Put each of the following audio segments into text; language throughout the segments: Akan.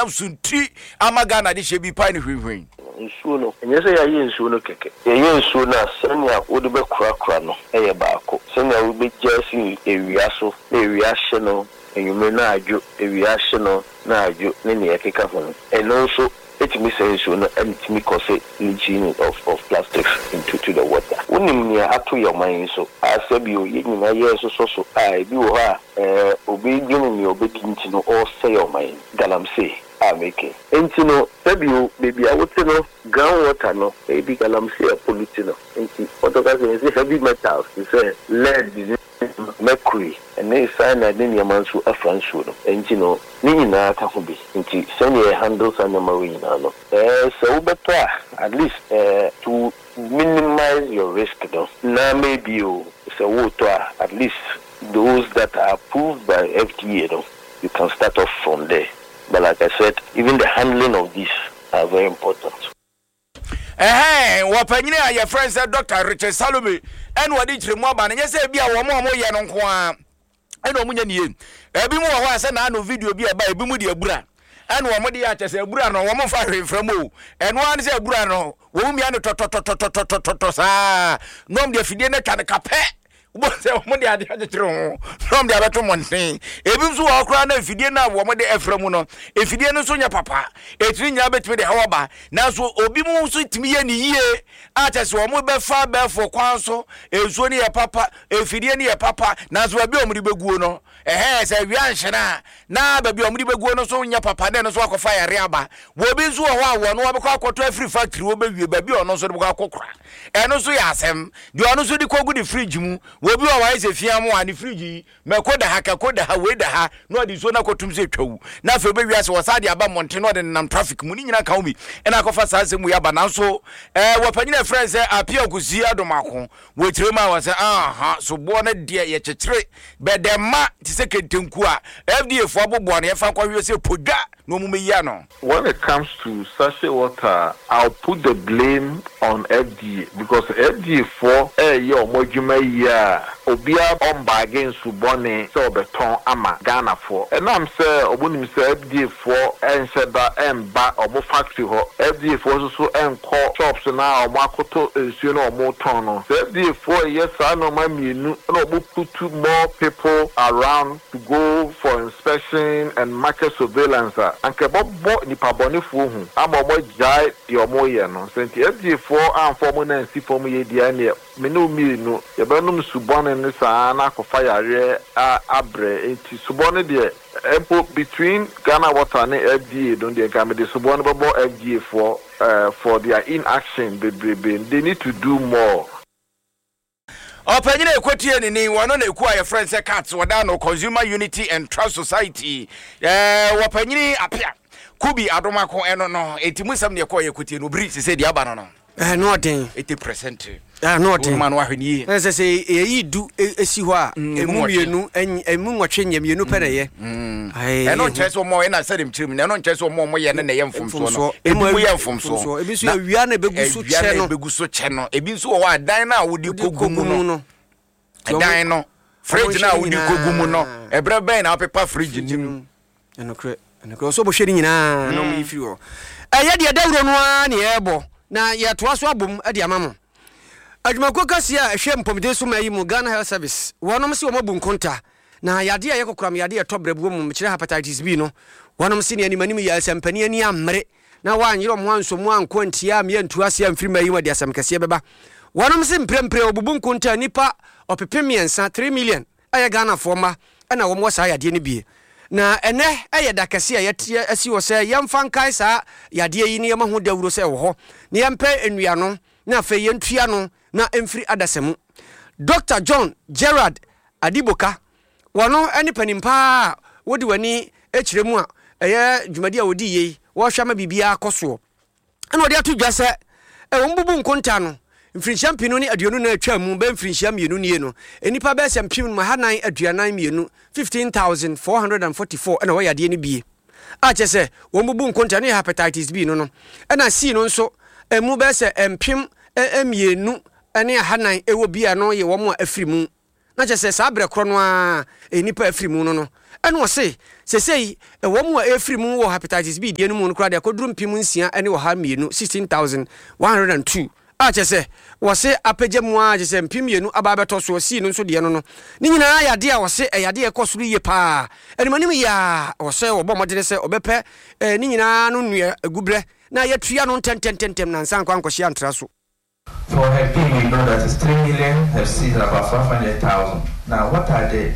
Nam so nti ama Ghana adehyeɛ bi pae no hwinhwin. Nsuo no, ɛnyɛ sɛ yɛayɛ nsuo no kɛkɛ. Yɛyɛ nsuo no a, sɛnea wode bɛkorakora no yɛ baako. Sɛnea wobɛgya asi awia so na awia ahye no anwummere na adwo, awia ahye no na adwo ne nea ɛkeka ho no, ɛno nso tumi sɛe nsuo no and ɛtumi cause leaching of of plastics into to the water. Wonim nea ato yɛn ɔman yi so a sɛbio yɛn nyinaa yɛresosɔ so a ebi wɔ hɔ a ɛɛ obi dwene nea ɔbɛdi nti no ɔresɛe ɔman yi. Galamsey a meke. Enti no sɛbio baabi a wote no ground water no ebi galamsey a pollute no nti wɔtɔ ka sɛ yɛse heavy metals te sɛ lead ne mercury ne cyanide ne nneɛma nso afra nsuo no enti no ne nyinaa ka ho bi nti sɛnea yɛ handle saa nneɛma wei nyinaa no ɛɛ sɛ wobɛtɔ a at least ɛɛ to minimize your risk no na maybe o sɛ woretɔ a at least those that are approved by FDA no you can start off from there but like I said even the handling of these are very important. Ɛhɛn, wɔ panyin a yɛfrɛ no sɛ Dɔkta Richard Salome ɛna ɔde nkyerɛmu aba no, nyɛ sɛ ebi a wɔn a wɔyɛ no nko ara ɛna wɔn nyɛ ne yie. Ebi mu wɔ hɔ a sɛ n'ano video bi a ɛba ebi mu de abura ɛna wɔn de yɛ akyɛ sɛ abura no wɔn mfa hwee mfra mu o. Ɛno ara ne sɛ abura no wɔn mia no tɔtɔtɔtɔtɔtɔtɔ saa na wɔn de afidie no atwa no kapɛ. Wobɛhu sɛ wɔde adeɛ akyekyere ho na wɔde abɛto mmɔnten. Ebi nso wɔ hɔ koraa na mfidie no a wɔde afira mu no, mfidie no nso nyɛ papa. Ɛtumi nyinaa bɛtumi de haw aba. Nanso obi mu nso tumi yɛ ne yie a kyɛ sɛ wɔbɛfa abɛɛfo kwan so, nsuo no yɛ papa, mfidie no yɛ papa, nanso baabi a wɔde bɛguo no, ɛhɛɛ sɛ awia nhyene a, na baabi a wɔde bɛguo no nso nyɛ papa na ɛno nso akɔfa yare aba. Wɔ bi nso wɔ hɔ a wɔn wɔbɛkɔ akɔtɔ afiri factory wɔbɛwie baabi a ɔno nso de bɛkɔ akɔkora. Ɛno nso yɛ asɛm. Deɛ ɔno nso de kɔgu ne fridge mu. Wɔ bi wɔ hɔ a wayɛ sɛ fia mo a ne fridge yi mako da ha, kako da ha, wei da ha na ɔde nsuo no akɔtum sɛ twawu. Na afei ɔbɛwie ase wɔsan de aba mmɔnten na ɔde nenam traffic mu. Ne nyinaa ka ho bi ɛna akɔfa saa nsɛm wei aba. Nanso ɛɛ wɔ panyin a ɛfrɛ no sɛ Appiah Kusi Adomako wɔ kyerɛ mu a wɔ sɛ aha soboɔ no deɛ yɛkyekyere bɛdɛma te sɛ kentenku a FDA foɔ aboboa no yɛmfa nkɔhwehwɛ sɛ podwa na wɔn mmɛyi ano. When it comes to sachet water a, I'll put the blame on FDA because FDA foɔ ɛɛyɛ ɔmo adwuma yie a, obiara ɔmbaage nsu bɔne sɛ ɔbɛtɔn ama Ghana foɔ. Ɛnam sɛ ɔmo nim sɛ FDA foɔ ɛnhyɛ da ɛmba ɔmo factory hɔ, FDA foɔ nso so ɛnkɔ shops no a ɔmo akɔtɔ nsuo no a ɔmo tɔn no. Sɛ FDA foɔ ɛyɛ saa nnoɔma mmienu na ɔmo putu more people around to go for inspection and market surveillance a, anka ɛbɛbɔ nnipa bɔnefoɔ hu ama wɔn agyae deɛ wɔreyɛ no. Sɛ nti FDA foɔ amfa wɔn nan ansi fam yei deɛ ɛnneɛ me ne wo mmienu yɛbɛnom su bɔne no saa ara na akɔfa yareɛ a abrɛ. Enti subɔ no deɛ mpo between Ghana Water ne FDA no deɛ nka mede subɔ no bɛbɔ FDA foɔ for their inaction bebrebe. They need to do more. Ɔpanyin a ɛkɔtie ne ni, wɔno na ɛkuo a yɛfrɛ no sɛ CATS, wɔda no Consumer Unity and Trust Society, ɛɛ wɔpanyini Apea Kubi Adomako ɛno no, enti mu nsɛm ne ɛkɔɔ yɛkɔtie no, obiri sese deɛ aba no no. Ɛno ɔden. 80%. Ɛno ɔden. Wɔn no ahwɛ ne yie. Ɛsɛ sɛ yɛyi du esi hɔ a, emu mmienu, emu nwɔtwe nyɛ mmienu pɛ na ɛyɛ. Ɛno nkyerɛ sɛ wɔn ɛna sɛdeɛ mekyerɛ mu no, ɛno nkyerɛ sɛ wɔn a wɔyɛ no na ɛyɛ mfomsoɔ no. Ebi mu yɛ mfomsoɔ. Ebi nso yɛ awia na ebegu so kyɛ no. Awia na ebegu so kyɛ no. Ebi nso wɔ hɔ a dan no a wode kɔgu mu no. Ɛdan no, fridge no a wode kɔgu mu no, ɛberɛ bɛn na wopepa fridge no mu? Ɛnokorɛ, ɛnokorɛ, ɔsɛ ɔbɔhwɛ ne nyinaa na ɔmo yi firi hɔ. Ɛyɛ deɛ dawuro no ara na yɛrebɔ na yɛtoa so abom de ama mo. Adwumakuo kɛseɛ a ɛhwɛ mpɔmuden so man yi mu, Ghana Health Service, wɔnom se wɔn abu nkonta na yadeɛ a ɛyɛ kokoram yadeɛ a ɛtɔ brɛboɔ mu, mekyerɛ Hepatitis B no, wɔnom se nea anim anim yɛ asɛmpani ani ammere na wɔanyere wɔn ho ansɔ mu anko antia ammea antu aseɛ amfiri mmaa yi mu a, de asɛm kɛseɛ bɛba. Wɔnom se mprempren wɔbubu nkonta nnipa ɔpepem mmiɛnsa, 3 million, ɛyɛ Ghanafoɔ mma na wɔn wɔ saa yadeɛ no bie. Na ɛnɛ yɛ da kɛseɛ a yɛte asi hɔ sɛ yɛmfa nkae saa yadeɛ yi na yɛma ho dawuro sɛ ɛwɔ hɔ na yɛmpɛ nnuano na afei yɛntua no na ɛmfiri adasa mu. Dɔkta John Gerard Adiboka, wɔno ne panin paa a wode w'ani kyerɛ mu a ɛyɛ dwumadi a wɔdi yei, wɔhwɛ ama biribiara kɔ soɔ. Ɛna ɔde ato dwa sɛ wɔn bubu nkonta no mfirinhyia mpenu ne aduonu na atwa mu bɛyɛ mfirinhyia mmienu nie no, nnipa bɛyɛ sɛ mpem ahanan aduanan mmienu, 15,444, ɛna wɔyɛ adeɛ no bie a kyerɛ sɛ wɔn bubu nkonta no yɛ hepatitis B no no, ɛna C no nso ɛmu bɛyɛ sɛ mpem mmienu ne ahanan ɛwɔ bi a ɛno yɛ wɔn a afiri mu. Na kyerɛ sɛ saa berɛ korɔ no ara nnipa a afiri mu no no. Ɛna ɔse sesei wɔn a ɛrefiri mu wɔ Hepatitis B deɛ no mu no koraa deɛ akɔduru 6202, 16,102, a kyerɛ sɛ wɔse apagya mu ara kyerɛ sɛ 2000 aba abɛtɔ soɔ, C no nso deɛ no no. Ne nyinaa yɛ adeɛ a wɔse ɛyɛ adeɛ a ɛkɔ soro yie pa ara. Animanim yie ara wɔ sɛ wɔbɔ mmɔdene sɛ wɔbɛpɛ ne nyinaa ano nnua aguberɛ na yɛatua no ntɛntɛntɛntɛm na ansa ankɔ ankɔhye antra so. For Hep B, we know that it's 3 million, Hep C is about 500,000. Now, what are the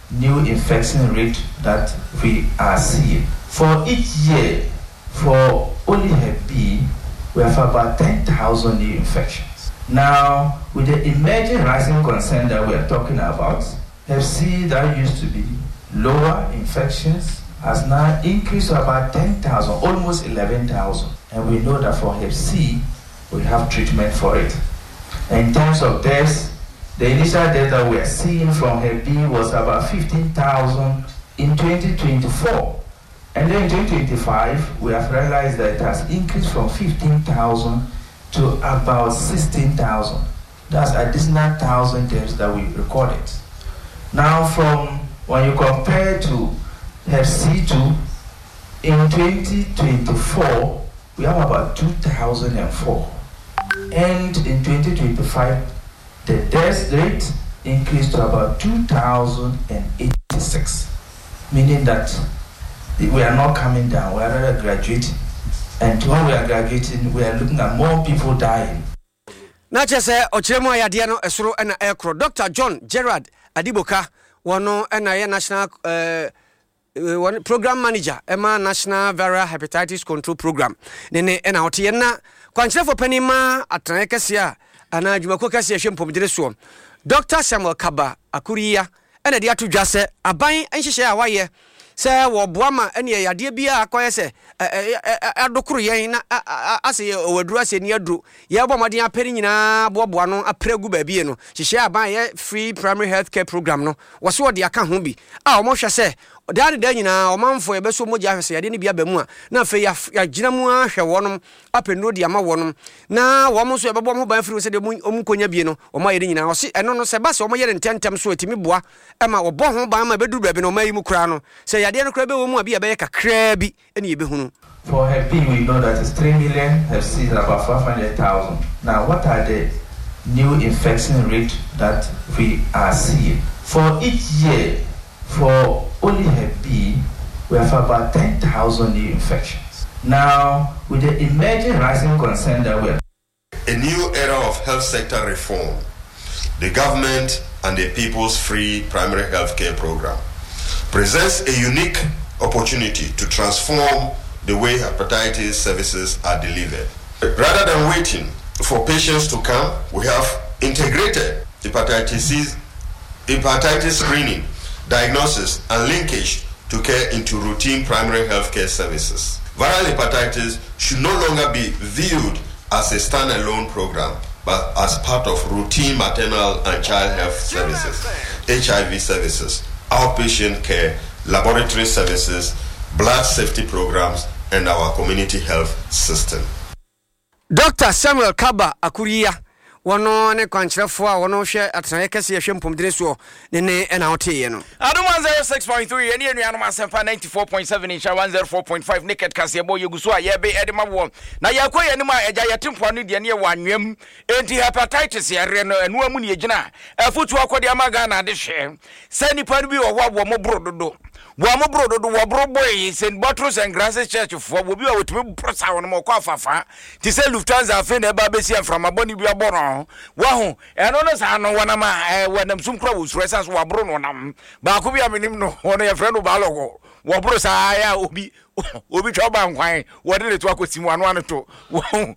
new infection rate that we are seeing? For each year, for only Hep B, we have about 10,000 new infections. Now, with the emerging rising concern that we are talking about, Hep C that used to be lower infections has now increased to about 10,000, almost 11,000. And we know that for Hep C, we have treatment for it. In terms of deaths, the initial death that we are seeing from Hep B was about 15,000 in 2024. And then in 2025, we have realized that it has increased from 15,000 to about 16,000. That's additional 1,000 deaths that we recorded. Now, from when you compare to Hep C2, in 2024, we have about 2,004. And in 2025, the death rate increased to about 2,086, meaning that we are not coming down, we are rather graduating. And when we are graduating, we are looking at more people dying. Na kyerɛ sɛ ɔkyerɛ mu a yadeɛ no ɛsoro na ɛrekorɔ. Dɔkta John Gerard Adiboka, wɔno na ɛyɛ National eh, wɔn Program Manager ɛma National Viral Hepatitis Control Program ne ne ɛna ɔte yɛn na kwankyerɛfoɔ panin ma atenaeɛ kɛseɛ a anaa adwumakuo kɛseɛ ɛhwɛ mpɔmudene soɔ Dɔkta Samuel Kaba Akuriya na ɛde ato dwa sɛ aban nhyehyɛe a wɔayɛ sɛ wɔboa ma ɛneɛ yadeɛ biara akɔyɛ sɛ adokoro yɛn na asɛ yɛ ɔwɔ aduro asɛ ni aduro yɛbɔ mmɔden apɛ ne nyinaa boaboa no apere agu baabi no hyehyɛ aban yɛ free primary health care program no wɔso wɔde aka ho bi a wɔhwɛ sɛ daa ne daa nyinaa ɔmanfoɔ yɛbɛso mogya ahwɛ sɛ yadeɛ no bi aba mu a na afei yɛagyina mu ahwɛ wɔnom apɛ nnuro de ama wɔnom na wɔn nso yɛbɛbɔ wɔn ho ban afiri ho sɛdeɛ wɔn nkɔnya bie no wɔn ayɛ no nyinaa ɔse ɛno no sɛ ɛba sɛ wɔyɛ no ntɛmntɛm so ɛtumi boa ma wɔbɔ ho ban ma ɛbɛduru baabi no ɔman yi mu koraa no sɛ yadeɛ no koraa bɛwɔ mu a bi a ɛbɛyɛ kakraa bi ne yɛbɛhunu. For Hep B we know that it's 3 million, Hep C is about 500,000. Now what are the new infection rate that we are seeing? For each year, for only Hep B, we have about 10,000 new infections. Now, with the emerging rising concern that we are A new era of health sector reform, the government and the People's Free Primary Health Care Program presents a unique opportunity to transform the way hepatitis services are delivered. Rather than waiting for patients to come, we have integrated hepatitis C, hepatitis screening, diagnosis, and linkage to care into routine primary health care services. Viral hepatitis should no longer be viewed as a standalone program, but as part of routine maternal and child health services, HIV services, outpatient care, laboratory services, blood safety programs, and our community health system. Dɔkta Samuel Kaba Akuriya, wɔno ne kwankyerɛfoɔ a wɔno hwɛ atenaeɛ kɛseɛ ɛhwɛ mpomdene soɔ ne ne ɛna woteeɛ no. Adom 106.3 yɛne anuanom Asɛmpa 94.7 Nhyira 104.5 Naked kaseɛbɔ yɛgu so a yɛbe ɛde ma woɔ na yɛkɔ yɛn anim a agya yɛte mpoano deɛ ne yɛwɔ anwea mu enti hepatitis yareɛ no ɛnoa mu ne yɛgyina afotuo akɔde ama Ghana adehyeɛ sɛ nnipa no bi wɔ hɔ a wɔn boro dodo wɔn boro dodo wɔboro boe St. Bottles and Grasses Church foɔ wɔbi a wɔtumi boro saa wɔn ɔkɔ afafa te sɛ Lufthansa afei na ɛba abɛsi mframa bɔne bi abɔ no wahu ɛno no saa no wɔnam a wɔnam sum kora wɔsuro ɛsan so wɔaboro no wɔnam baako bi a menim no wɔn yɛfrɛ no baalɔgɔ wɔboro saa yɛ a obi obi twa ɔba nkwan wɔde ne to akɔsi mu ano ano to wɔn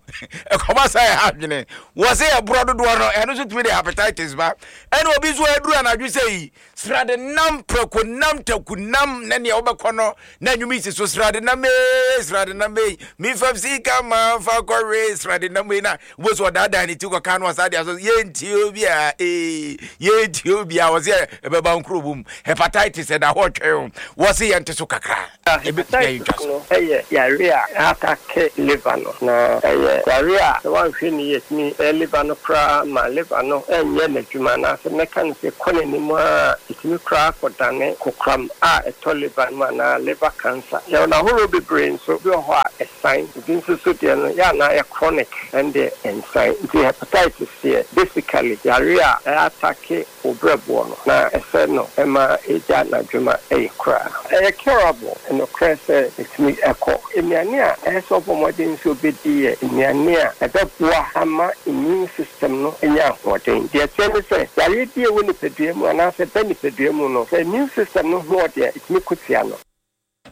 ɛkɔba saa ɛha adwene wɔsɛ ɛborɔ dodoɔ no ɛno nso tumi de hepatitis ba ɛna obi nso aduru anadwo sɛ yi srade nam prɛko nam taku nam na nea wobɛkɔ no na nnwom yi si so srade nam ee srade nam ee mefam sika ma fa kɔwe srade nam ee na wobɛsi ɔdaadaa ne ti kɔka no ɔsa de aso yɛntie obi a ee yɛntie obi a wɔsɛ ɛbɛba nkuro bom hepatitis ɛda hɔ twɛn wɔsɛ yɛnte so kakra. Hepatitis. so. No yɛ yare a ɛatake liver no, na ɛyɛ yare a sɛ woanhwɛ no yie ɛtumi sɛe liver no koraa ma liver no nyɛ n'adwuma anaasɛ mɛka no sɛ kɔ n'anim ara a ɛtumi koraa kɔdane kokoram a ɛtɔ liver no mu anaa liver cancer. Yɛwɔ no ahoroɔ bebree nso, ebi wɔ hɔ a ɛsan, ebi nso so deɛ no yɛ a na ayɛ chronic, ɛndeɛ ɛnsan. Nti hepatitis deɛ basically yare a ɛatake wo berɛboɔ no, na ɛsɛ no ma ɛgya n'adwuma yɛ koraa. Ɛyɛ curable, nokorɛ sɛ ɛtumi kɔ. Nnuane a ɛsɛ sɛ ɔbɔ mmɔden sɛ ɔbɛdi yɛ nnuane a ɛbɛboa ama immune system no anya ahoɔden. Deɛ ɛteɛ ne sɛ, yareɛ bi a ɛwɔ nipadua mu anaasɛ ɛba nipadua mu no, sɛ immune system no ho ɔden a, ɛtumi ko tia no.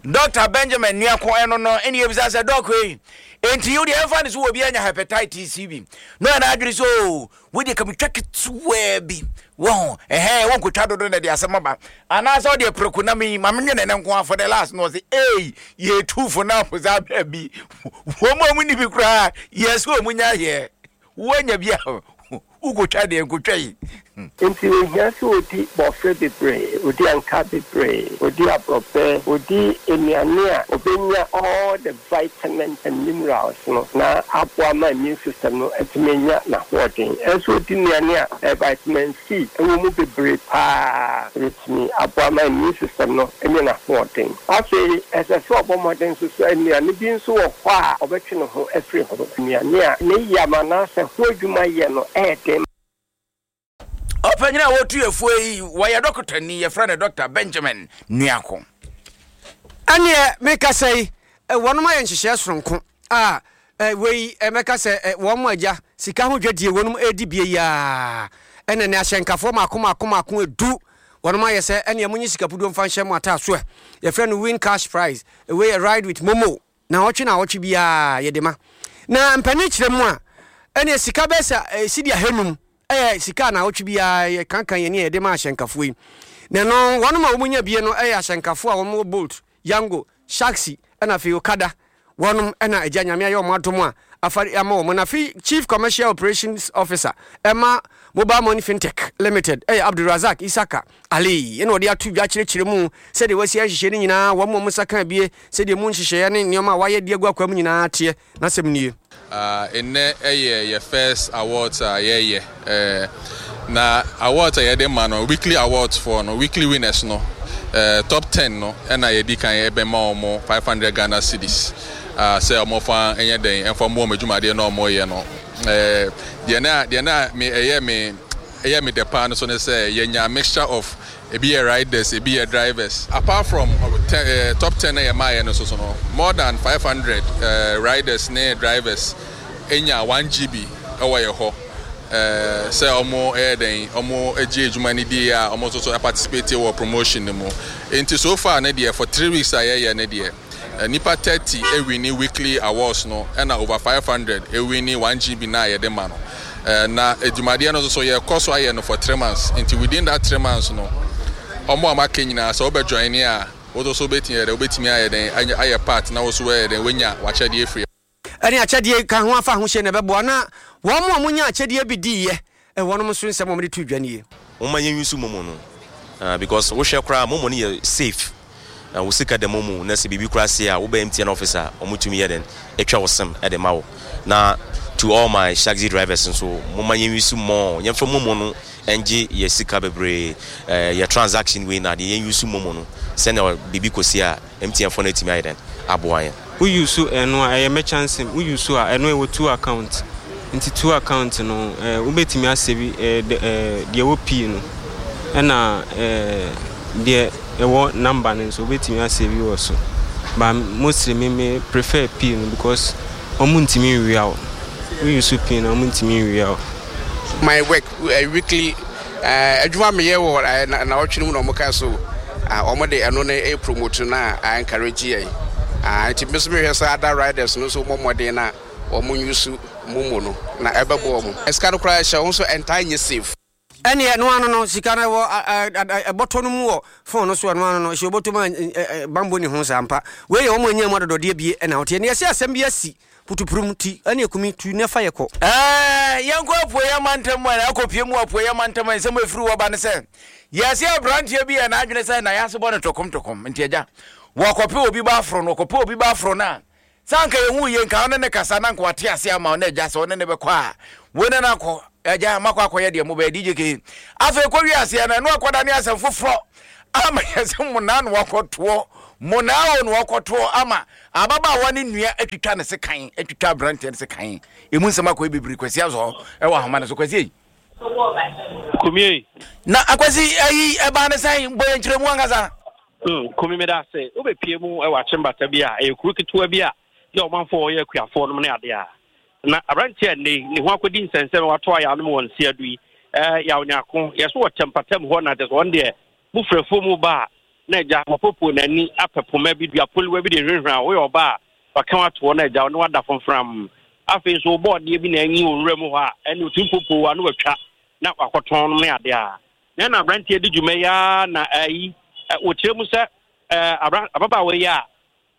Dɔkta Benjamin Nuako ɛno no ɛna yɛbisa sɛ dɔk ei enti wo deɛ ɛmfa ne so obi anya hepatitis bi na ɔyɛ n'adwene sɛ oo wo deɛ ka metwa ketewaa bi wɔho ɛhɛn wonkotwa dodo na ɛde asɛm aba anaasɛ ɔdeɛ preko na me ma menwene ne nko for the last na ɔse ei yɛtu fo na afo saa baabi wɔn a wɔn ni bi koraa yɛ sɛ wɔn nya yɛ Woanya bi a, wokotwa deɛ nkotwa yi. Enti ohia sɛ odi bɔfrɛ bebree, odi ankaa bebree, odi aborɔbɛ, odi nnuane a obenya all the vitamins and minerals no na aboa ma immune system no atumi anya n'ahoɔden. Ɛsɛ sɛ odi nnuane a vitamin C wɔ mu bebree paa. Ebetumi aboa ma immune system no anya n'ahoɔden. Afei, ɛsɛ sɛ ɔbɔ mmɔden nso sɛ nnuane bi nso wɔ hɔ a ɔbɛtwe ne ho afiri ho, nnuane a ne yam anaasɛ ho adwuma yɛ no yɛ den. Ɔpanyin a wɔtu afuo yi, wɔyɛ dɔkotani, yɛfrɛ no Dɔkta Benjamin Nuako. Ɛnneɛ mekasa yi, wɔnom ayɛ nhyehyɛɛ soronko a wei mɛka sɛ wɔn agya sika ho dwadie wɔnom redi bie yi ara ɛna ne ahyɛnkafoɔ mako mako mako edu wɔnom ayɛ sɛ ɛneɛ monye sika puduo mfa nhyɛ mo ataaso ɛ yɛfrɛ no win cash prize wei yɛ ride with momo naawɔtwe naawɔtwe biara yɛde ma na mpanin kyerɛ mu a ɛneɛ sika bɛyɛ sɛ sidi ahanum ɛyɛ sika a naawɔtwe biara yɛkankan yɛn a yɛde ma ahyɛnkafoɔ yi na ɛno wɔnom a wɔn nya bie no ɛyɛ ahyɛnkafoɔ a wɔn wɔ bolt Yango, Shaxi ɛna afei Okada wɔnom ɛna agya Nyame ayɛ wɔn adom a afari ama wɔn na afei Chief Commercial Operations Officer ɛma Mobile Money Fintech Limited ɛyɛ Abdulrazak Isaka Ali ɛna ɔde ato dwa kyerɛkyerɛ mu sɛdeɛ wasi ayɛ nhyehyɛɛ no nyinaa wɔn a wɔn nsa ka abie sɛdeɛ mu nhyehyɛeɛ ne nneɛma a wayɛ de agu akwan mu nyinaa teɛ N'asɛm nie. Nnɛ yɛ yɛ first awards a yɛyɛ na awards a yɛde ma no weekly awards foɔ no weekly winners no top ten no ɛna yɛdi kan ɛbɛma wɔn 500 Ghana cedis sɛ wɔn fa nyɛ dɛn ɛnfa mmoa wɔn adwumadeɛ na wɔn yɛ no deɛ na deɛ na me ɛyɛ me ɛyɛ me dɛ paa no so ne sɛ yɛnya mixture of Ebi yɛ riders, ebi yɛ drivers. Apart from top ten na yɛmaeɛ no nso so no, more than 500 riders ne drivers nya 1 GB wɔ yɛ hɔ sɛ wɔn yɛ dɛn, wɔn gye adwuma no die a wɔn nso so participate wɔ promotion no mu. Nti so far no deɛ for 3 weeks a yɛyɛ no deɛ, Nnipa 30 winni weekly awards no ɛna over 500 winni 1 GB no a yɛde ma no. Na dwumadeɛ no nso so yɛkɔ so ayɛ no for 3 months nti within that 3 months no wɔn a wɔaka nyinaa sɛ wobɛ join a wo nso so wobɛtumi ayɛ dɛn wobɛtumi ayɛ dɛn ayɛ part na wo nso woayɛ dɛn woanya w'akyɛdeɛ afiri Ɛne akyɛdeɛ ka ho afa ahohyɛ na ɛbɛboa na wɔn a wɔnya akyɛdeɛ bi diiɛ wɔnom nso nsɛm a wɔde too dwa nie. Momma yɛn use momo no ah because wo hwɛ koraa momo no yɛ safe na wo sika da momo na sɛ biribi koraa si a wo ba MTN office a wɔn tumi yɛ dɛn atwa wo sim de ma wo na to all my shaxi drivers nso momma yɛn use more yɛn fa momo no ngye yɛ sika bebree eh yɛ transaction wei na adeɛ yɛn use momo no sɛnea biribi kɔ si a MTN foɔ no atumi ayɛ dɛn aboa yɛn. Wo use ɛno a ɛyɛ merchant sim wo use a ɛno ɛwɔ two account nti two account no eh wobɛtumi asave eh eh deɛ ɛwɔ pii no ɛna eh deɛ ɛwɔ number no nso wobɛtumi asave wɔ so but mostly me me prefer pii no because wɔn ntumi nwia wo wo use pii no wɔn ntumi nwia wo. My work weekly adwuma meyɛ wɔ nnawɔtwe no mu na wɔn ka so wɔn de ɛno no promote na a encourage yɛn nti me nso mehwɛ sɛ other riders no nso wɔn mmɔden na wɔn use momo no na ɛbɛboa wɔn. Sika no koraa ɛhyɛ wɔn nso ɛntaa nyɛ safe. Ɛneɛ ɛno ano no sika no ɛwɔ ɛbɔtɔ no mu wɔ phone no so ɛno ano no ɛhyɛ ɔbɔtɔ mu a banbɔ ni ho saa ampa wei yɛ wɔn a ɛnya mu adɔdɔdeɛ bie ɛna woteɛ neɛ ɛsɛ asɛm bi asi Putupurum ti ɛne akumi tu ne fa yɛ kɔ. Ɛɛ, yɛnkɔ Apueeɛ Mantam mu ɛ, akɔpue mu wɔ Apueeɛ Mantam a nsɛm a ɛfiri hɔ ba ne sɛ, yɛse aberanteɛ bi yɛɛ n'adwene sɛ n'ayase bɔ no tokomtokom, nti agya, Wɔkɔpɛ obi ba aforo no, wɔkɔpɛ obi ba aforo no a, sɛ anka yɛhu yie nka ɔne ne kasa na anka wate ase ama wo na agya sɛ ɔne ne bɛkɔ a, wo ne no akɔ, agya makɔ akɔyɛ deɛ mobɛyɛ DJ K. Afei kɔwie aseɛ no, ɛno akɔda ne asɛm foforɔ ama yɛ sɛ monaa na wakɔtoɔ, monaa o na wakɔtoɔ ama ababaawa ne nua atwitwa ne sekan, atwitwa aberanteɛ no sekan. Emu nsɛm akɔyɛ bebree. Kwasi Azɔ ɛwɔ ahoma no so. Kwasi ei. Kumie. Na Akwasi ayi ɛbaa ne sɛn bɔ yɛn nkyerɛmu ankasa. Hmm, Kumi meda ase. Wobɛpie mu wɔ Akyembata bi a ɛyɛ kuro ketewa bi a yɛ ɔmanfoɔ wɔyɛ akuafoɔ nom ne adeɛ a. Na aberanteɛ a nnɛ ne ho akɔdi nsɛnsɛm wato ayɛ anom wɔ nseado yi eh, yaw nyako yɛ so wɔ kyɛmpatam hɔ na kyɛ sɛ ɔno deɛ mo frɛfoɔ mu ba a na agya wapopo n'ani apɛ poma bi dua poliwa bi de hwehwɛ a woyɛ ɔba a waka watoɔ na agya ɔne wada fomfram Afei nso wobɔ adeɛ bi na anyi wɔ nwura mu hɔ a, ɛne ɔtumi popo a na watwa na wakɔtɔn nom ne adeɛ a. Na ɛna aberanteɛ di dwuma yi ara na ayi wɔkyerɛ mu sɛ ababaawa yi a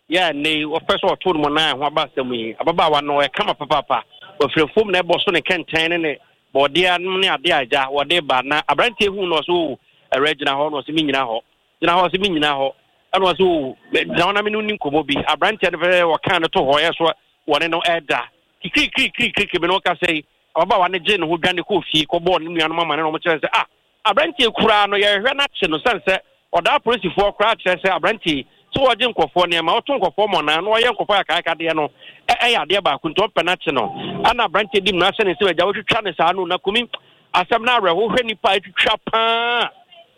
yɛ a nnɛ yi wɔpɛ sɛ ɔto no mu nan ho aba asɛm yi, ababaawa no ɔyɛ kama papaapa, wafiri afuom na ɛbɔ so ne kɛntɛn ne ne bɔɔdeɛ nom ne adeɛ a agya wɔde ba na aberanteɛ hu no ɔsɛ o awura gyina hɔ na ɔsɛ me nyina hɔ gyina hɔ ɔsɛ me nyina hɔ ɛna ɔsɛ o gyina hɔ na me ne ni nkɔmmɔ bi aberanteɛ no fɛ wɔkaa no to hɔ yɛ so wɔne no ɛda kikirikirikirikiri me ne wo kasa yi ababaawa no gye ne ho dwane kɔɔ fie kɔbɔɔ ne nuanom amane na wɔn kyerɛ sɛ ah aberanteɛ koraa no yɛhwehwɛ no akye no sɛn sɛ ɔdaa apolisifoɔ koraa kyerɛ sɛ aberanteɛ sɛ wɔgye nkɔfoɔ nneɛma ɔto nkɔfoɔ mɔnaa na ɔyɛ nkɔfoɔ akaakadeɛ no ɛyɛ adeɛ baako nti ɔmpɛ no akye no ɛna aberanteɛ di mmara sɛ ne nsɛm agya wɔtwitwa ne saa no na kumi asɛm no awerɛho hwɛ nipa atwitwa paa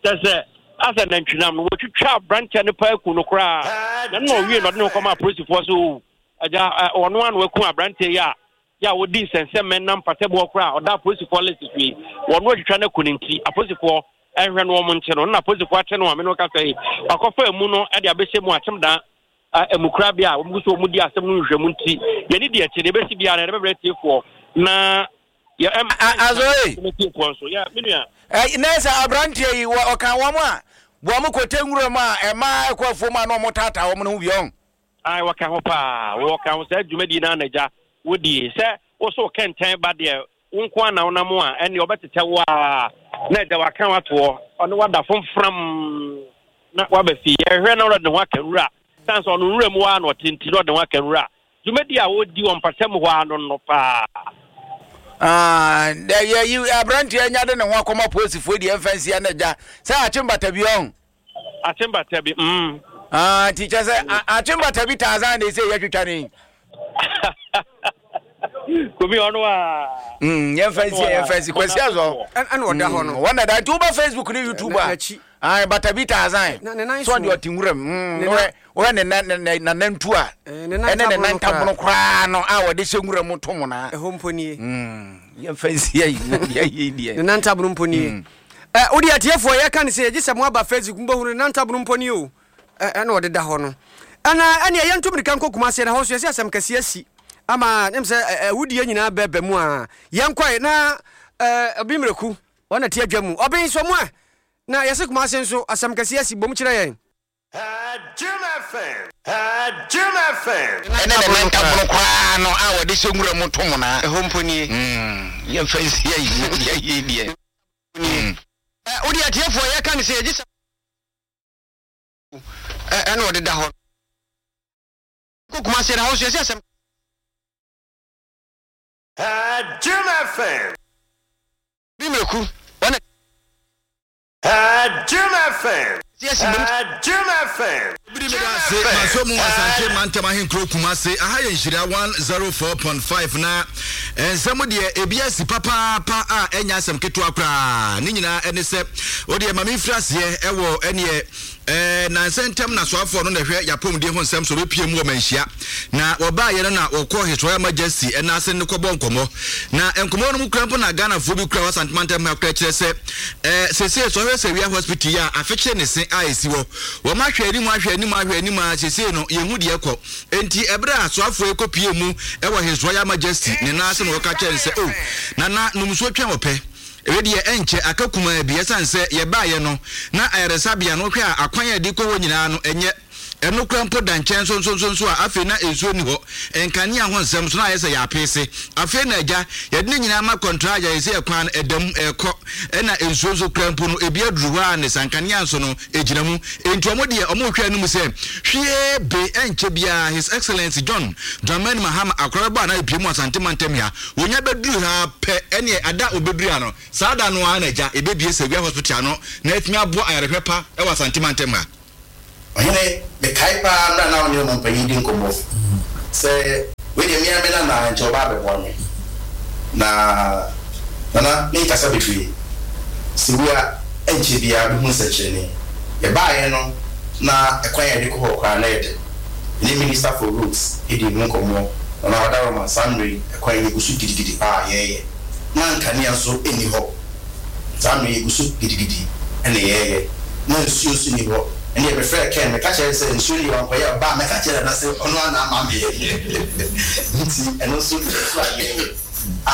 kyɛ sɛ asɛ nantwinam no wɔtwitwa aberanteɛ no paa ku no koraa na na ɔwie na ɔde ne ho kɔma apolisifoɔ so Agya, ɛ, ɔno ara na wakum aberanteɛ yi a yɛ a ɔdi nsɛnsɛmmɛ nam mpataboɔ koraa a ɔda apolisifoɔ list so yi. Wɔn atwitwa no aku no nti, apolisifoɔ nhwɛ no wɔn nkye no. Na apolisifoɔ akye no a me ne wo kasa yi, wakɔfa emu no de abɛhyɛ mu akyem dan emukorabea a wɔn gu so wɔn di asɛm no nhwehwɛmu nti, yɛne di akyi, deɛ ɛbɛsi biara no yɛde bɛbrɛ atiefoɔ na yɛ ɛm. Azoe. Atiefoɔ nso, yɛ me nua. Ɛ, na sɛ aberanteɛ yi, wɔ, ɔka wɔn a wɔn kɔtɛ nwura mu a ɛmaa ɛkɔ afuom a na wɔn taataa wɔn no ho bi ɔn. Ae wɔka ho paa wɔka ho saa dwumadie no ara na agya wodie sɛ wo so kɛntɛn ba deɛ wo nko ara na wonam a ɛnneɛ ɔbɛtetɛ wo a na agya waka watoɔ ɔne wada fomfram na waba fie yɛhwɛ na ɔde ne ho aka nwura san sɛ ɔno nwura mu ara na ɔte nti na ɔde ne ho aka nwura dwumadie a wɔdi wɔ mpata mu hɔ ara no no paa. Ah, yɛ aberanteɛ nya de ne ho akɔma polisifoɔ deɛ ɛmfa nsia na agya sɛ akye mbata bi ɔn. Akyembata bi, mm. Ah, nti kyɛ sɛ akyembata bi Tarzan na ɛsɛ yɛtwitwa ne yi. Kobi ɔno a. Mm, yɛmfa nsi yɛmfa nsi kwasi azɔ. Ɛna ɔda hɔ no. Wɔn na da nti woba Facebook ne YouTube a. Ayi bata bi Tarzan. So ɔde ɔte nwura mu. Mm, wɔyɛ ne nan ne nanantu a. Ɛne ne nan tabono koraa no a wɔde hyɛ nwura mu to mo na. Ɛhɔ mpo nie. Mm, yɛmfa nsi ayi yɛ deɛ. Ne nan tabono mpo nie. Ɛ, wo deɛ atiefoɔ, yɛka no sɛ, gye sɛ moaba Facebook mobɛhunu no, Nantabono mpo nie o, ɛ, ɛna ɔdeda hɔ no. Ɛna, ɛneɛ yɛnto mirika nkɔ Kumasi, ɛna hɔ nso yɛsɛ asɛm kɛseɛ asi, ama, nem sɛ, ɛ, awudie nyinaa bɛba mu a, yɛnkɔe, na, ɛ, Obi Mmerɛku, ɔna te adwa mu, Ɔben, sɔ mu ɛ, na yɛse Kumasi nso, asɛm kɛseɛ asi, bom kyerɛ yɛn. Ɛne ne nantabono koraa no a wɔde hyɛ nwura mu to monaa. Ɛhɔ mpo nie. Yɛmfa nsi ayi yie deɛ. Nie. Ɛ, wo deɛ atiefoɔ, yɛka no sɛ yɛgye sɛ. Ɛ, ɛna ɔdeda hɔ. Kɔ Kumasi ɛna hɔ nso yɛsɛ asɛm. Jim FM. Bi mmerɛku, wɔn. Jim FM. Jim FM. Biri meda ase maso mu Asante mantam ahenkuro Kumase aha yɛ nhyira 104.5 na nsɛm deɛ ebi asi papaapa a ɛnyɛ asɛm ketewa koraa ne nyinaa ɛne sɛ wodeɛ ma memfiri aseɛ ɛwɔ ɛneɛ Ɛɛ, nnansa ntam na soafoɔ no na ɛhwɛ y'apɔmuden ho nsɛm so bɛpue mu wɔ Manhyia. Na wɔbaeɛ no na wɔkɔɔ His Royal Majesty ɛna ase ne no kɔbɔɔ nkɔmmɔ. Na nkɔmmɔ no mu koraa mpo na Ghanafoɔ bi koraa wɔ Asante mantam ha koraa kyerɛ sɛ, ɛɛ, seesei sɛ ɔhwɛ Sewia Hospital yi a afekyere ne se a ɛsi hɔ. Wɔn ahwɛ anim ahwɛ anim ahwɛ anim ara seesei no yɛnhu deɛ ɛkɔ. Enti ɛberɛ a soafoɔ yi kɔpuee mu wɔ His Royal Majesty ne nan ase na wɔka kyerɛɛ no sɛ, Oh, Nana, nom nsuo twɛn ɔpɛ. Wei deɛ ɛnkyɛ, aka kumaa bi. Ɛsiane sɛ yɛbaeɛ no, na ayaresabea no, wohwɛ a, akwan a ɛde kɔ hɔ nyinaa no, ɛnyɛ. Ɛno koraa mpo da nkyɛn nsonsonsonso a afei na nsuo nni hɔ. Nkanea ho nsɛm nso na ayɛ sɛ yɛapeese. Afei na agya, yɛde ne nyinaa ma kɔntragya, yɛsɛ ɛkwan no ɛda mu, ɛrekɔ. Ɛna nsuo nso koraa mpo no, ebi aduru hɔ ara ne sa, nkanea nso no, ɛgyina mu. Enti wɔn deɛ, wɔrehwɛ anim sɛ, hwiee be, ɛnkyɛ biara His Excellency John Dramani Mahama akora bɛbɔ anaa apue mu Asante mantam ha. Wɔnya bɛduru ha ara pɛ, ɛneɛ ada a wɔbɛduru ha no, saa da no ara na agya, yɛbɛbue Sawia Hospital ano na atumi aboa ayarehwɛ pa wɔ Asante mantam ha. Ɔhene, mekae paa mmerɛ a na wo ne ɔmampanyin di nkɔmmɔ sɛ wei deɛ me ara me nana nkyɛ ɔba abɛboa me. Na Nana menkasa bebree, Sewia ɛnkyɛ biara bɛhu nsɛnkyerɛnne. Yɛbaeɛ no na ɛkwan a yɛde kɔ hɔ koraa na ɛyɛ den. Me ne Minister for Roads dii ho nkɔmmɔ, Nana Wadaroma saa mmerɛ yi ɛkwan yi yɛgu so gidigidi paa a yɛreyɛ. Na nkanea nso nni hɔ. Saa mmerɛ yi yɛgu so gidigidi na yɛreyɛ. Na nsuo nso nni hɔ. Ɛnneɛ mefrɛɛ Ken, meka kyerɛɛ no sɛ nsuo no deɛ wankɔyɛ a, ɔba a mɛka akyerɛ Nana sɛ ɔno ara na ama me. Nti ɛno nso yɛgu so a yɛreyɛ a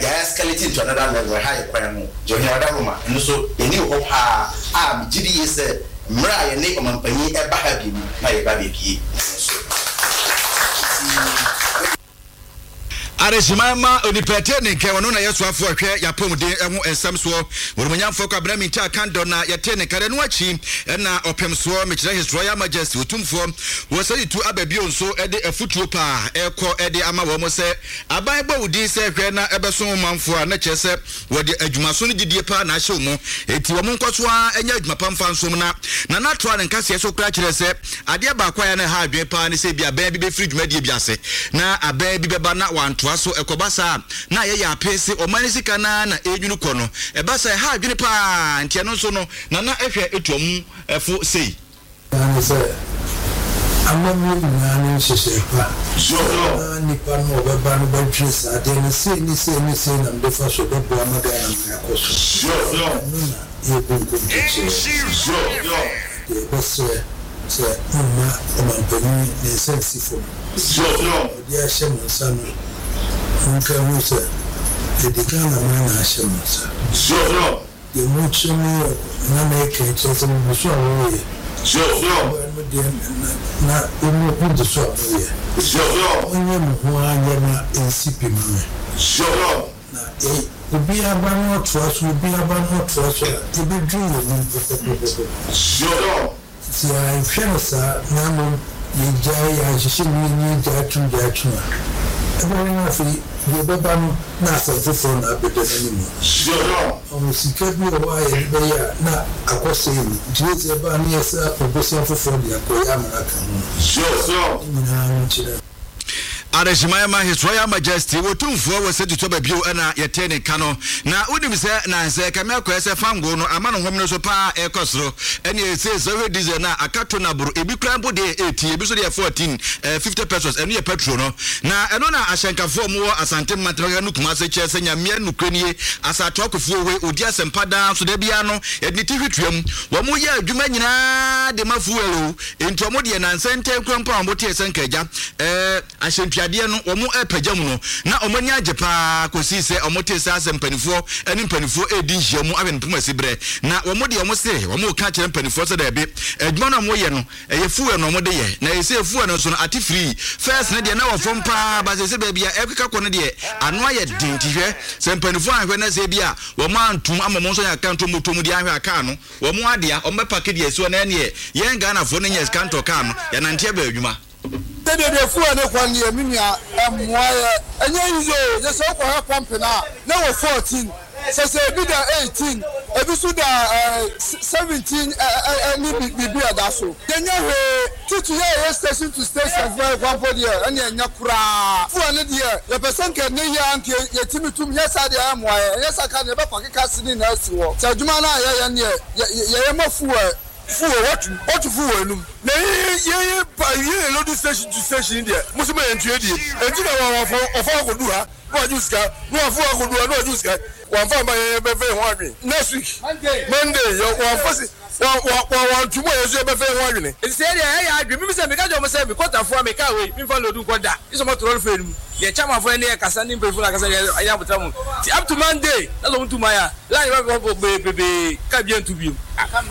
yɛ escalate into another level, ɛha yɛ kwan ho. Nti Ɔhene Ɔdahoma, ɛno nso yɛn ani wɔ hɔ pa ara a megye di yie sɛ mmerɛ a yɛne Ɔmanpanin ɛba ha bio no na yɛba abɛbie ɛno nso. Nti. Adehyeman ma onipa ɛte ne nka, ɔno na yɛ soafoɔ a ɛhwɛ y'apɔmuden ho nsɛm soɔ. Onimonyamfoɔ Kwabena Mintah Kandor na yɛtee ne nka. Ɛno akyi na ɔpem soɔ, mekyerɛ His Royal Majesty Otumfoɔ Osei Tutu aba bio nso de afutuo pa rekɔ de ama wɔn sɛ aban bɔ wo din sɛ hwɛ na ɛbɛso wo manfoɔ a na kyerɛ sɛ Wɔde adwumaso ne gyidie paa na ahyɛ wɔn mu, enti wɔn nkɔ so ara nyɛ adwuma pa mfa nsom. Na Nana toaa ne nkaseɛ so koraa kyerɛɛ sɛ, adeɛ baako a ɛyɛ a na ɛha adwene paa ne sɛ ebia abɛn bi bɛfiri dwumadie bi ase na abɛn bi bɛba na wantoa so. Ɛkɔba saa a, na ayɛ yɛ apee se ɔman no sika no ara na ɛrenwunu kɔ no. Ɛba saa a, ɛha adwene paa, enti ɛno nso no, Nana hwɛ tu wɔn fo sei. Nyinaa ne sɛ, amammuo nyinaa ne nhyehyɛe pa na nnipa no a wɔbɛba no bɛdwene saa adeɛ no sei ne sei ne sei na mede fa so ɛbɛboa ma Ghana man akɔ so. Ɛno na yɛbu nkonto kyerɛ. Na deɛ yɛbɛsrɛ sɛ momma ɔmanpanin ne nsa nsi fam. Deɛ ɔde ahyɛ mo nsa no monka nhu sɛ yɛde Ghana man na ahyɛ mo nsa. Deɛ mokyerɛ me yɛ na meka yi kyerɛ sɛ megu so a moreyɛ. Ɔbaa no deɛ na na mo gu so a moreyɛ. Monyɛ mo ho ara nyɛ ma ɛnsi pi ma me. Na yɛ obiara ba na ɔtoa so, obiara ba na ɔtoa so a, yɛbɛduru yɛn anim pɔpɔpɔpɔpɔ. Sɛ yɛanhwɛ no saa na mmom yɛgyae, yɛanhyehyɛ mu yie na yɛgyae tom gyae tom a, ɛbɛyɛ na afei deɛ ɛbɛba no na asɛm foforɔ na abɛda n'anim. Ɔho sika bi wɔ hɔ a yɛde bɛyɛ a na akɔsɛe ni, nti wei sɛ ɛba a na yɛsan apɛ bosea foforɔ de akɔyɛ ama no aka ho. Ne nyinaa no kyerɛ. Adehyeman ma His Royal Majesty Otumfoɔ wɔ Sɛ Tutɔ Bio na yɛtee ne nka no. Na wonim sɛ nansɛ ɛkame akɔyɛ sɛ fangoo no ama no home no so paa ɛrekɔ soro. Ɛne ɛsei sɛ wohwɛ diesel no a aka tona boro ebi koraa mpo deɛ yɛ 18 ebi nso deɛ yɛ 14 eh, 50 pesos ɛno yɛ petrol no. Na ɛno na ahyɛnkafoɔ a wɔwɔ Asante mantam ha no Kumase kyerɛ sɛ Nyamea nokorɛ nie Asatoa Kofi Owe ɔdi asɛmpa daa nso da biara no yɛde ne ti hwe tua mu. Wɔn yɛ adwuma nyinaa de ma fuel o. Enti wɔn deɛ nansa ntɛn koraa mpo a wɔn tee sɛ nka agya ɛɛ ahyɛntuadeɛ no wɔn repagya mu no, na wɔn ani agye paa kɔsii sɛ wɔn tee sɛ asɛ mpanifoɔ ɛne mpanifoɔ redi nhyiamu ahwɛ no poma si berɛ. Na wɔn deɛ wɔn se wɔn reka akyerɛ mpanifoɔ sɛ daabi, adwuma no a wɔn yɛ no ɛyɛ fuel na wɔn de yɛ, na ɛsei fuel no nso no ate firii first no deɛ na wɔ fam paa, but seesei baabi a ɛrekeka kɔ no deɛ ano ayɛ den, nti hwɛ sɛ mpanifoɔ anhwɛ na sɛ ebia wɔn antum ama wɔn nso anya kakra nto mmɔtoɔ mu deɛ anhwɛ a kaa no Wɔn adea, wɔn bɛ pake deɛ ɛsi hɔ na ɛneɛ yɛn Ghanafoɔ no nya sika ntɔ car no, yɛnante aba adwuma. Sɛdeɛ deɛ fuel ne kɔ no deɛ me nua ɛmmoa yɛ ɛnyɛ easy oo gye sɛ wokɔ hwɛ pump no a na ɛwɔ 14 sɛsɛ ebi da 18 ebi nso da ɛɛ 17 ɛne biribi a ɛda so yɛnyɛ hwee Titi yɛ yɛ station to station fo ɛkwan mpo deɛ ɛne ɛnyɛ koraa. Fuel no deɛ yɛpɛ sɛ nka ɛnɛ yi ara nka yɛtumi tum nyɛ saa deɛ ɛmmoa yɛn ɛnyɛ saa ka deɛ yɛbɛfa keka se ne nyinaa asi hɔ. Sɛ adwuma no a yɛyɛ no deɛ yɛyɛ ma fuel. Fuel watu watu fuel anum na yɛn yɛn pa yɛn load station to station deɛ mo se ma yɛn ntua die enti na wɔn wɔfa wɔfa akɔdu ha na wagye wo sika na wafa akɔdu ha na wagye wo sika wɔnfa mma yɛn yɛbɛfa yɛn ho adwene next week Monday yɛ wɔnfa si Wɔ wɔ wɔ wɔn nto mu a yɛn nso yɛbɛfa yɛn ho adwene. Enti sɛ yɛdeɛ ɛyɛ adwene, mimi sɛ meka kyerɛ wɔn sɛ me kɔtafoɔ a mekaa wei, memfa load nkɔ da, gye sɛ wɔato lɔre fare no mu. Deɛ chairmanfoɔ yɛne yɛ kasa ne mpanyinfoɔ no akasa deɛ ɛnyɛ abotra mu. Nti up to Monday na sɛ wɔn tu man a, line bɛbɔ bebrebee, car biara ntu bio.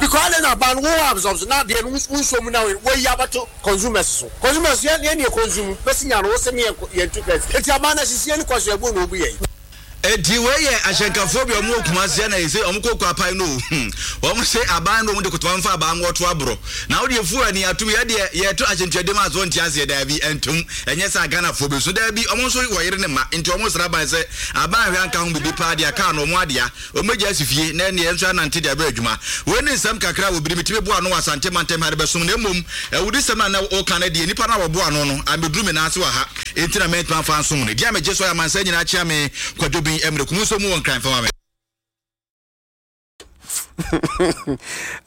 Because adɛn na aban no wo absorb so na adeɛ no wo nsuo mu na woayi abɛto consumers so. Consumers yɛn yɛn na yɛ consume bɛsi nya no wo se ne yɛn yɛn tu tax. Enti aban no asisi yɛn kɔ so ɛbo na obu yɛn. Enti wei yɛ ahyɛnkafoɔ bi a wɔn wɔ Kumasi ɛna yɛse wɔn kɔ Kwapai no o hmm wɔn se aban no wɔn de kotoma mfa abaa ngo ɔto aborɔ na wo deɛ fuel ani atom yɛ deɛ yɛto ahyɛntuadeɛ mu a so wɔnte aseɛ daabi ɛntom ɛnyɛ saa Ghanafoɔ bɛsu daabi wɔn nso wɔ yere ne mma nti wɔn srɛ aban sɛ aban ahwɛ anka ho bibi paa deɛ kaa no wɔn adea Wɔbɛgya asi fie na ɛnneɛ nso anante de abɛ adwuma. Wei ne nsɛm kakra a wɔbiri metumi boa ano wɔ Asante mantam ha de bɛsom na mmom awudisɛm a na woka no deɛ nnipa no a wɔboa ano no ammɛduru me nan ase wɔ ha enti na mantumi amfa ansom no. Deɛ a megye so ayɛ amansan nyinaa kyea me Kwadwo Ben Mmerɛ Kumu nso mu wɔ Nkran fa ma me.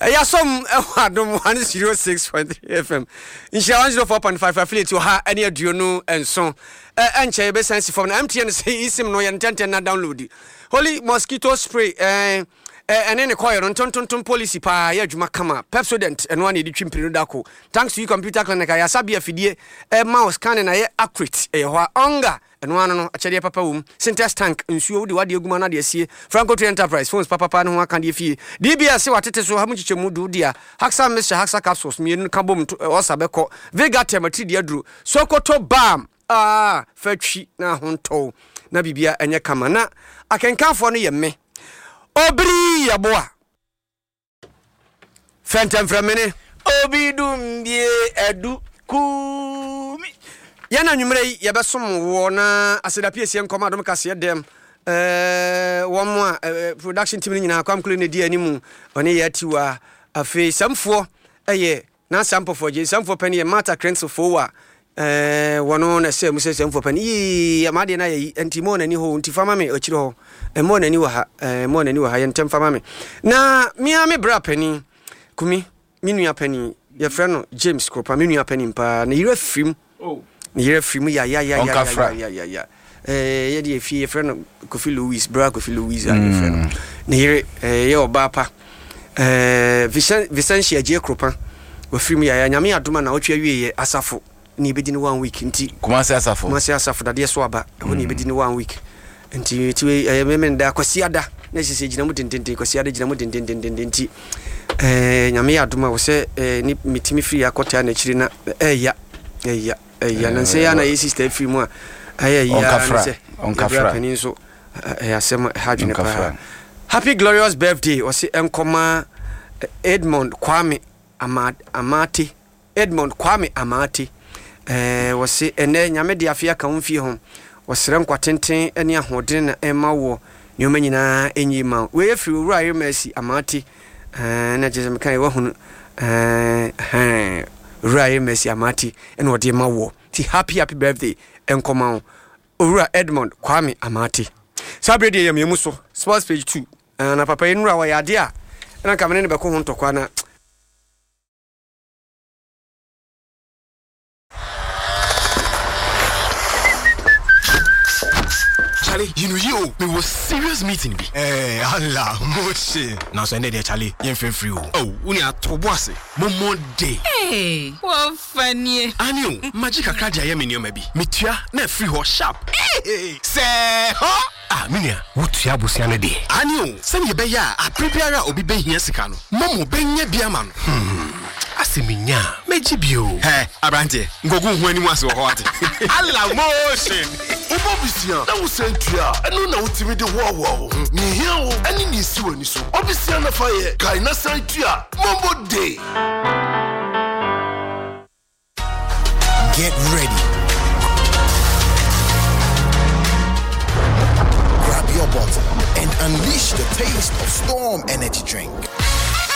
Yɛasom wɔ Adom 106.3 FM, Nhyira 104.5 affiliate 127. Ɛnkyɛ yɛbɛsan si fam na MTN sɛ eSIM no yɛ ntɛntɛn na download. Holy mosquito spray ɛɛ ɛne ne kɔyɛ no ntontontom policy paa yɛ adwuma kama. Pepsodent ɛno ara na yɛde twi mpire no da ko. Thanks to you computer clinic ayasabea afidie ɛma wo scanning ayɛ accurate ɛyɛ hɔ a. Onga ɛno ara no no akyɛdeɛ papa wom. Sintex tank nsuo wode w'adeɛ gu mu ana de asie. Franco Trade Enterprise phones papapa ne ho akadeɛ fie. DBS se watete so ha mu nkyekyɛmu du dea. Haxa mixture Haxa capsules mmienu ka bom to ɔsa bɛkɔ. Vegatem atiridii aduro. Sokoto balm Ah, fa twi na ho ntɔ wo na biribia ɛnyɛ kama. Na akenkanfoɔ no yɛ me. Obiri Yeboah. Fɛntɛmfrɛmene. Obi dumbie adu kumi. Yɛn anwummerɛ yi yɛbɛsom woɔ na aseda piesie nkɔm adom kaseɛ dɛm eh, wɔn a eh, production team no nyinaa Kwam Kule na ɛdi animu ɔne yɛ atiwa afei sɛmfoɔ ɛyɛ Na Sampɔfoɔ gye Samfoɔ panin yɛ Martha Krentzel Fowa ɛɛ wɔno na ɛsɛ mu sɛ Samfoɔ panin yii m'adeɛ no ayɛ yi nti mɔɔ n'ani hɔ nti fa ma me akyire hɔ mɔɔ n'ani wɔ ha ɛɛ mɔɔ n'ani wɔ ha yɛ ntɛm fa ma me na mea me bra panin kumi me nua panin yɛfrɛ no James Kropa me nua panin paa ne yerɛ firim Oh. Ne yere afiri mu Ɔnkafra. yayayayayaya. Eh, yɛ deɛ fie yɛfrɛ no Kofi Louis, bra Kofi Louis a yɛfrɛ no. Ne yere eh, yɛ ɔbaa pa. Eh, Vicen- Vicentia Gyee Kropa wafiri mu yaya. Nyame adom a naawɔtwe awieɛ asafo ne yɛbɛdi no one week nti. Kumasi asafo. Kumasi asafo dadeɛ so aba ɛhɔ ne yɛbɛdi no one week nti nti wei ɛyɛ Memenda Kwasiada na ɛsɛ sɛ gyina mu dendenden Kwasiada gyina mu dendendenden nti eh, Nyame yɛ adom a wɔ sɛ eh, ne metumi firi akɔtaa n'akyiri na ɛya. Ɛya ɛya na nsɛ ya na yɛ sister firi mu a ɛyɛ ya ne sɛ yɛbra panin nso ɛyɛ asɛm a ɛha adwene paa. Happy glorious birthday ɔse ɛnkɔma Edmond Kwame Amate Edmond Kwame Amate ɛɛ wɔse ɛnɛ nyame de afe aka wo mfie ho wɔsrɛ nkwa tenten ne ahoɔdene na ɛma wɔ nneɛma nyinaa ɛnyi ma wo wei afiri owura Ayermasi Amate Ɛɛ na kyerɛ sɛ meka yɛ wahunu ɛɛ hɛn owura yɛ Mercy Amati ɛna ɔde ma woɔ ti happy happy birthday ɛnkɔma wo owura Edmond Kwame Amati saa berɛ deɛ yɛmyɛ mu so sports page 2 ɛɛ na papa yi nnura wɔyɛ adeɛ a ɛna nka mene ne bɛko ho ntɔkwa na Charlie, you know you, me was serious meeting bi. Eh, Allah, motion. Now so ɛnɛ deɛ Charlie, yɛn fɛn free o. Oh, wo ni ato bo ase. Mo mo de. Hey, wɔ fa nie. Ani o, magye kakra de ayɛ me nneɛma bi. Metua na afiri hɔ sharp. Hey, sɛ hɔ. Ah, me nua, wotua abosea no deɛ? Aane o, sɛdeɛ ɛbɛyɛ a aberɛ biara a obi bɛhia sika no, Momo bɛnya bi ama no. Hmm, asɛ menya a, mɛgye bi o. Hɛ, aberanteɛ, nkɔgu wo ho anim ase wɔ hɔ wate. Allah motion! Wobɔ bosea na wosan tua a, ɛno na wotumi de hoahoa wo ho. Nea ehia wo ne nea esi w'ani so. Bɔ bosea na fa yɛ, kae na san tua. Momo Day! Get ready. Grab your bottle and unleash the taste of Storm Energy Drink.